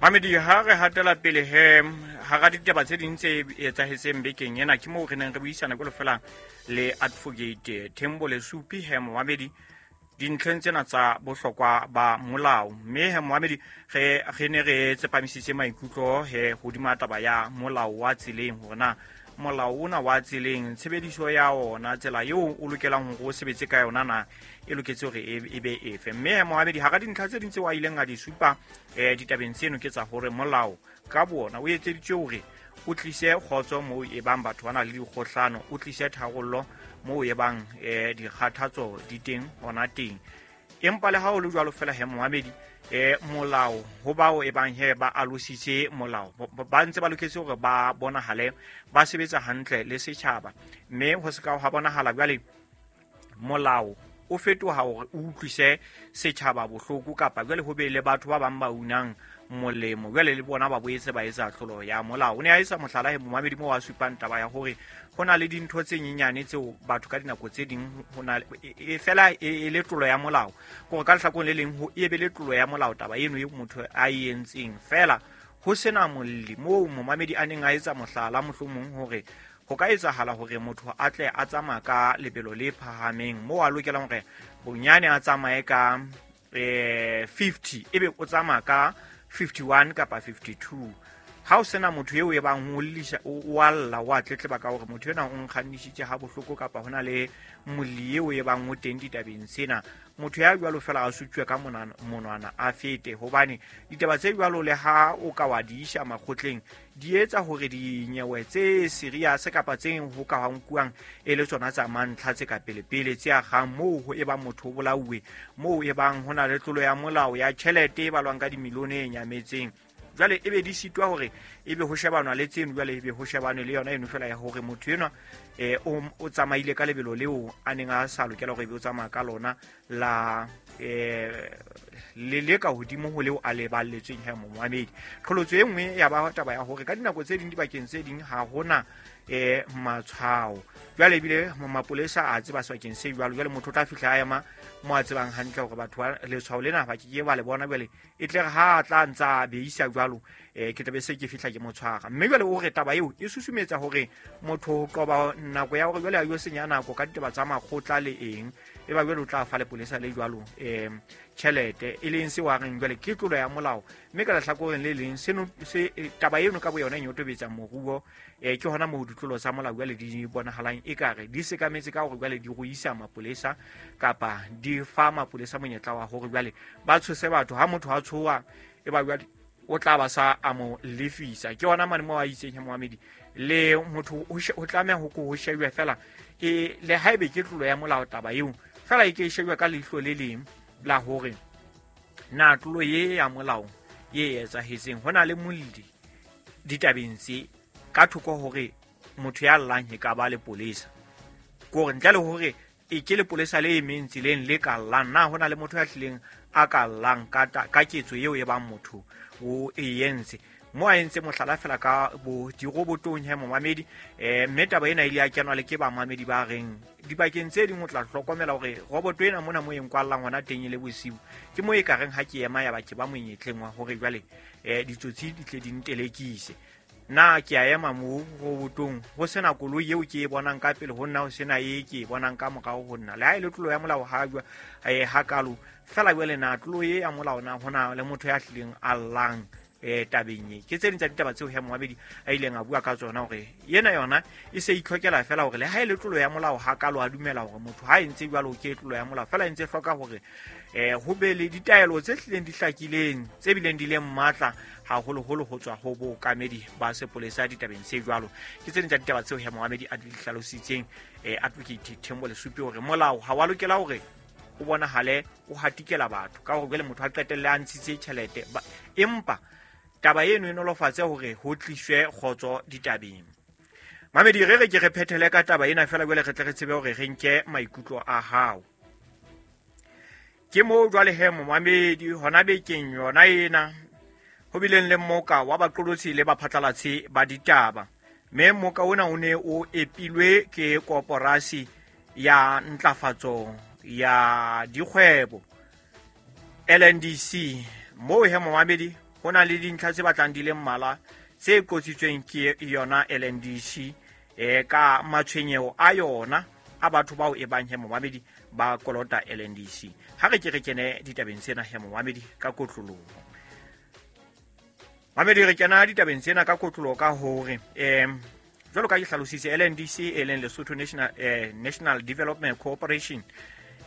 Mamedi, ha re hatela pele he hara ditaba tse ding tse etsahetseng bekeng ena, ke moo re neng re buisana jwalo fela le Advocate Thembo Lesupi he momamedi dintlheng tsena tsa bohlokwa ba molao. Mme he momamedi re ne re tsepamisitse maikutlo he hodima taba ya molao wa tseleng, hore na molao ona wa tseleng tshebediso ya ona, tsela eo o lokelang hore o sebetse ka yona na e loketse hore e be efe. Mme momamedi hara dintlha tse ding tseo a ileng a di supa ditabeng tseno ke tsa hore molao ka bona o etseditswe hore o tlise kgotso moo e bang batho ba na le dikgohlano, o tlise tharollo moo e bang dikgathatso di teng hona teng. Empa le ha o le jwalo fela he momamedi, molao ho bao e bang he ba alositse molao ba ntse ba loketse hore ba bonahale ba sebetsa hantle le setjhaba, mme ho se ka ha bonahala jwale molao o fetoha hore o utlwise setjhaba bohloko, kapa jwale ho be le batho ba bang ba unang molemo jwale le bona ba boetse ba etsa tlolo ya molao. O ne a etsa mohlala he momamedi moo a supang taba ya hore ho na le dintho tse nyenyane tseo batho ka dinako tse ding ho na e fela e le tlolo ya molao, kore ka lehlakoreng le leng ho e be le tlolo ya molao taba eno e motho a e entseng fela ho sena molli. Moo momamedi a neng a etsa mohlala mohlomong hore ho ka etsahala hore motho a tle a tsamaya ka lebelo le phahameng moo a lokelang hore bonyane a tsamaye ka 50 ebe o tsamaya ka 51 kapa 52. Ha o sena motho eo e bang o llisa o alla o a tletleba ka hore motho ena o nkgannisitse ha bohloko, kapa hona le molli eo e bang o teng ditabeng tsena, motho ya jwalo fela a sutswe ka monwana a fete. Hobane ditaba tse jwalo le ha o ka wa di isa makgotleng di etsa hore dinyewe tse serious kapa tse ho ka nkuwang e le tsona tsa mantlha tse ka pelepele tse agang moo ho e bang motho o bolauwe, moo e bang ho na le tlolo ya molao ya tjhelete e balwang ka dimilione e nyametseng. Jwale ebe di sitwa hore ebe ho shebanwa le tseno, jwale ebe ho shebanwe le yona eno fela ya hore motho enwa o tsamaile ka lebelo leo a neng a sa lokela hore ebe o tsamaya ka lona la le le ka hodimo ho leo a le balletsweng he momamedi. Qholotso e nngwe ya ba taba ya hore ka dinako tse ding dibakeng tse ding ha hona matshwao, jwale ebile mapolesa a tseba sebakeng se jwalo, jwale motho o tla fihla a ema mo a tsebang hantle hore batho ba letshwao lena ba ke ke ba le bona, jwale e tle re ha a tla ntsa beisa jwalo ke tla be se ke fihla ke mo tshwara. Mme jwale o re taba eo e susumetsa hore motho ho qoba nako ya hore jwale a yo senya nako ka ditaba tsa makgotla le eng, e ba jwale o tla fa lepolesa le jwalo tjhelete, e leng seo a reng jwale ke tlolo ya molao. Mme ka lehlakoreng le leng seno se taba eno ka boyona e nyotobetsa moruo, ke hona moo ditlolo tsa molao jwale di bonahalang ekare di sekametse ka hore jwale di ruisa mapolesa kapa di fa mapolesa monyetla wa hore jwale ba tshose batho. Ha motho a tshoha e ba jwale o tla ba sa a mo lefisa. Ke hona mane moo a itseng he momamedi le motho o tlameha ho ko ho shejwe fela e le haebe ke tlolo ya molao taba eo fela e ke e shejwe ka leihlo le leng la hore na tlolo ye ya molao ye etsahetseng ho na le molli ditabeng tse ka thoko hore motho ya llang e ka ba lepolesa, kore ntle le hore e ke lepolesa le emeng tseleng le ka llang, na ho na le motho ya hlileng a ka llang ka ketso eo e bang motho o e entse. Mo a entse mohlala fela ka bo dirobotong he momamedi, mme taba ena e ile ya kenwa le ke bamamedi ba reng dibakeng tse ding o tla hlokomela hore roboto ena mona mo e nkwallang hona teng e le bosiu, ke mo e ka reng ha ke ema ya ba ke ba monyetleng wa hore jwale ditsotsi di tle di ntelekise. Na ke a ema mo robotong ho sena koloi eo ke e bonang ka pele ho nna, ho sena e ke e bonang ka morao ho nna, le ha e le tlolo ya molao ha jwa hakalo fela jwale na tlolo e ya molao na hona le motho ya hlileng a llang tabeng e. Ke tse ding tsa ditaba tseo he momamedi a ileng a bua ka tsona hore yena yona e se itlhokela fela hore le ha e le tlolo ya molao hakalo a dumela hore motho ha e ntse jwalo ke tlolo ya molao, fela e ntse hloka hore ho be le ditaelo tse hlileng di hlakileng tse bileng di leng matla haholoholo ho tswa ho bookamedi ba sepolesa ditabeng tse jwalo. Ke tse ding tsa ditaba tseo he momamedi a di hlalositseng Advocate Thembo Lesupi hore molao ha wa lokela hore o bonahale o hatikela batho ka hore jwale motho a qetelle a ntshitse tjhelete, empa taba eno e nolofatse hore ho tliswe kgotso ditabeng. Mamedi, re re ke re phethele ka taba ena fela jwale re tle re tsebe hore re nke maikutlo a hao. Ke moo jwale he momamedi hona bekeng yona ena ho bileng le mmoka wa baqolotsi le baphatlalatsi ba ditaba, mme mmoka ona o ne o epilwe ke koporasi ya ntlafatso ya dikgwebo LNDC, moo he momamedi Ho na le dintlha tse batlang di le mmalwa tse qotsitsweng ke yona LNDC ka matshwenyeho a yona a batho bao e bang he momamedi ba kolota LNDC. Ha re ke re kene ditabeng tsena he momamedi ka kotloloho. Mamedi, re kena ditabeng tsena ka kotloloho ka hore jwalo ka ke hlalositse, LNDC e leng Lesotho National Development Corporation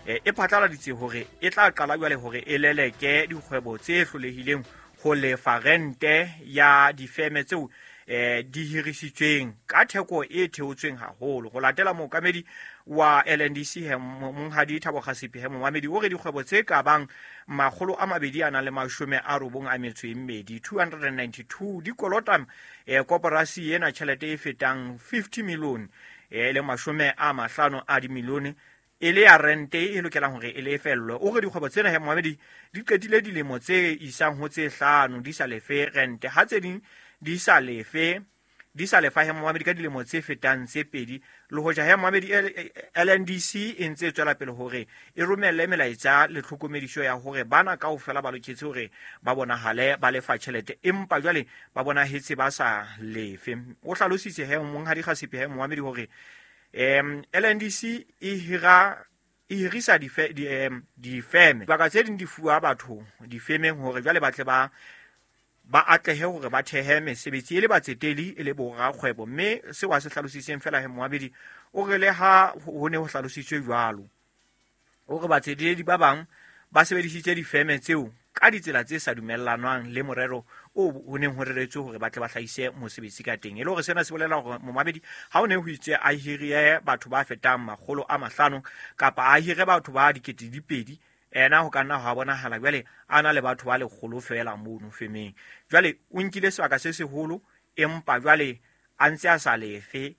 e phatlaladitse hore e tla qala jwale hore e leleke dikgwebo tse hlolehileng ho lefa rente ya difeme tseo di hirisitsweng ka theko e theotsweng haholo. Ho latela mookamedi wa LNDC Monghadi Thabo Kgasipe, he momamedi, o re dikgwebo tse ka bang 292 292 di kolota koporasi ena tjhelete e fetang 50 million, e leng 50 a dimilione, e le ya rente e lokelang hore e lefellwe. O re dikgwebo tsena he momamedi di qetile dilemo tse isang ho tse 5 di sa lefe rente, ha tse ding di sa lefa he momamedi ka dilemo tse fetang tse 2. Le hoja he momamedi LNDC e ntse e tswela pele hore e romelle melaetsa le tlhokomediso ya hore bana kaofela ba loketse hore ba bonahale ba lefa tjhelete, empa jwale ba bonahetse ba sa lefe. O hlalositse he Monghadi Kgasipe he momamedi hore LNDC e hirisa difeme, dibaka tse ding di fuwa batho difemeng hore jwale ba tle ba atlehe hore ba thehe mesebetsi e le batseteli e le borakgwebo. Mme seo a se hlalositseng fela he momamedi, o re le ha ho ne ho hlalositswe jwalo, o re batsetedi ba bang ba sebedisitse difeme tseo ka ditsela tse sa dumellanwang le morero o ho neng ho reretswe hore ba tle ba hlahise mosebetsi ka teng. E le hore sena se bolela hore momamedi ha o ne ho itse a hirie batho ba fetang 500 kapa a hire batho ba 2,000, ena ho ka nna ha bonahala jwale a na le batho ba 100 feela mono femeng. Jwale o nkile sebaka se seholo, empa jwale a ntse a sa lefe,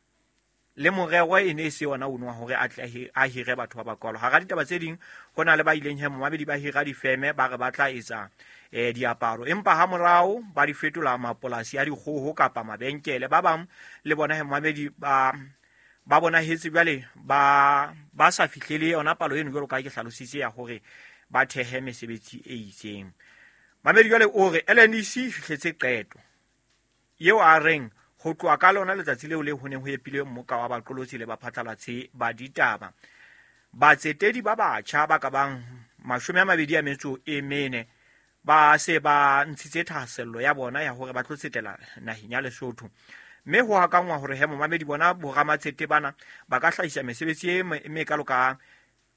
le morero e ne se yona ono wa hore a tle a hire batho ba bakalo. Hara ditaba tse ding, ho na le ba ileng he momamedi ba hira difeme ba re ba tla etsa diaparo, empa ha morao ba di fetola mapolasi a dikgoho kapa mabenkele. Ba bang le bona he momamedi ba bonahetse jwale ba sa fihlele yona palo eno jwalo ka ke hlalositse ya hore ba thehe mesebetsi e itseng. Mamedi jwale o re LNDC e fihletse qeto eo a reng ho tloha ka lona letsatsi leo le ho neng ho epilwe mmoka wa baqolotsi le baphatlalatsi ba ditaba, batsetedi ba batjha ba ka bang 24 ba se ba ntshitse thahasello ya bona ya hore ba tlo tsetela naheng ya Lesotho. Mme ho hakangwa hore he momamedi bona boramatsete bana ba ka hlahisa mesebetsi e mekalo ka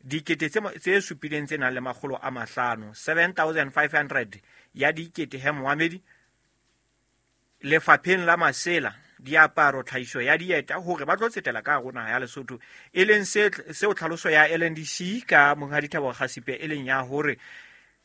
7,500 7,500 ya dikete he momamedi lefapheng la masela, diaparo, tlhahiso ya dieta, hore ba tlo tsetela ka hare naha ya Lesotho, e leng seo tlhaloso ya LNDC ka Monghadi Thabo Kgasipe e leng ya hore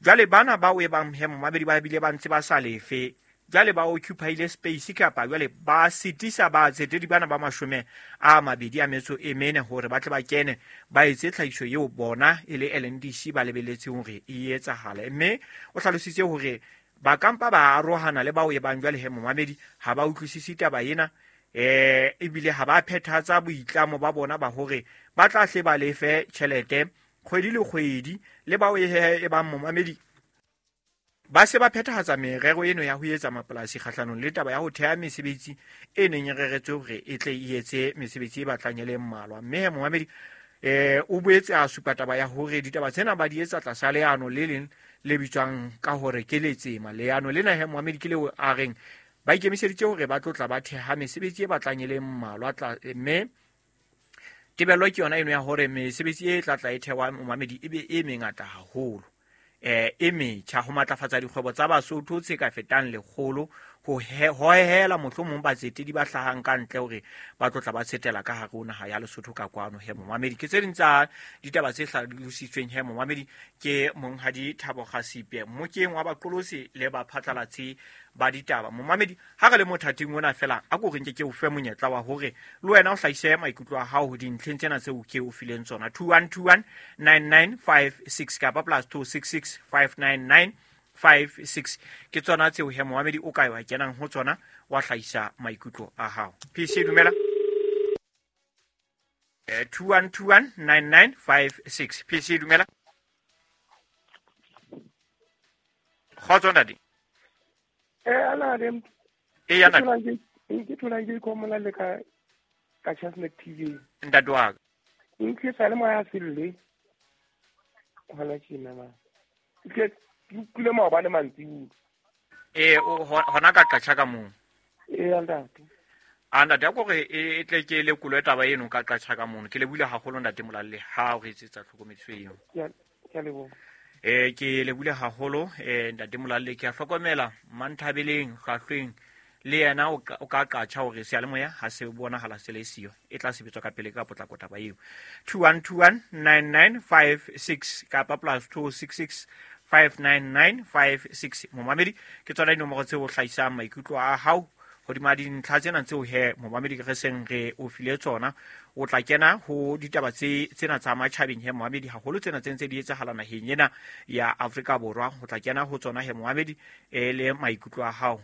jwale bana bao e bang he momamedi ba bile ba ntse ba sa lefe, jwale ba occupyile space kapa jwale ba sitisa batsetedi bana ba 24 hore ba tle ba kene ba etse tlhahiso eo bona e le LNDC ba lebeletseng hore e etsahale. Mme o hlalositse hore ba kampa ba arohana le bao e bang jwale he momamedi ha ba utlwisise taba ena, ebile ha ba phethatsa boitlamo ba bona ba hore ba tla hle ba lefe tjhelete kgwedi le kgwedi, le bao e bang momamedi ba se ba phethahatsa merero eno ya ho etsa mapolasi kgahlanong le taba ya ho theha mesebetsi e neng e reretswe hore e tle e etse mesebetsi e batlang e le mmalwa. Mme he momamedi o boetse a supa taba ya hore ditaba tsena ba di etsa tlasa leano le leng le bitswang ka hore ke letsema. Leano lena he momamedi ke leo a reng ba ikemiseditse hore ba tlo tla ba theha mesebetsi e batlang e le mmalwa, mme tebello ke yona eno ya hore mesebetsi e tla tla e thewa momamedi e be e mengata haholo, e metjha, ho matlafatsa dikgwebo tsa Basotho tse ka fetang 100, ho hohela mohlomong batsetedi ba hlahang ka ntle hore ba tlo tla ba tsetela ka hare ho naha ya Lesotho ka kwano he momamedi. Ke tse ding tsa ditaba tse hlalositsweng he momamedi ke Monghadi Thabo Kgasipe mmokeng wa baqolotsi le baphatlalatsi ba ditaba. Momamedi, ha re le mothating ona fela, a ko re nke ke o fe monyetla wa hore le wena o hlahise maikutlo a hao dintlheng tsena tseo ke o fileng tsona. 2121 9956 kapa +266 599 56 ke tsona tseo he momamedi o ka wa kenang ho tsona wa hlahisa maikutlo a hao. PC dumela. 2121 9956. PC dumela. Kgotso ntate. Ana le. E ya. Ke tholang ke ikomola le ka Chestnut TV. Ntate wa ka. Nke sa le moya selle. Hona tjena ma. Ke utlwile maobane mantsibuya. Ee, hona ka qatjha ka moo. Ee, ntate. A ntate, ya kore e tle ke lekolo taba eno ka qatjha ka mono. Ke lebohile haholo, ntate Molalle, ha o re etsetsa tlhokomediso eo. Ke a leboha. Ke lebohile haholo, ntate Molalle. Ke a hlokomela Manthabeleng hlwahlweng le yena o ka qatjha hore seyalemoya ha se bonahala se le siyo, e tla sebetswa ka pele ka potlako taba eo. 21219956 kapa +266 59956. Momamedi, ke tsona dinomoro tseo o hlahisang maikutlo a hao hodima dintlha tsena tseo he, momamedi, re seng re o file tsona. O tla kena ho ditaba tse tsena tsa matjhabeng he, momamedi, haholo tsena tse ntse di etsahala naheng ena ya Afrika Borwa. O tla kena ho tsona he, momamedi, e le maikutlo a hao.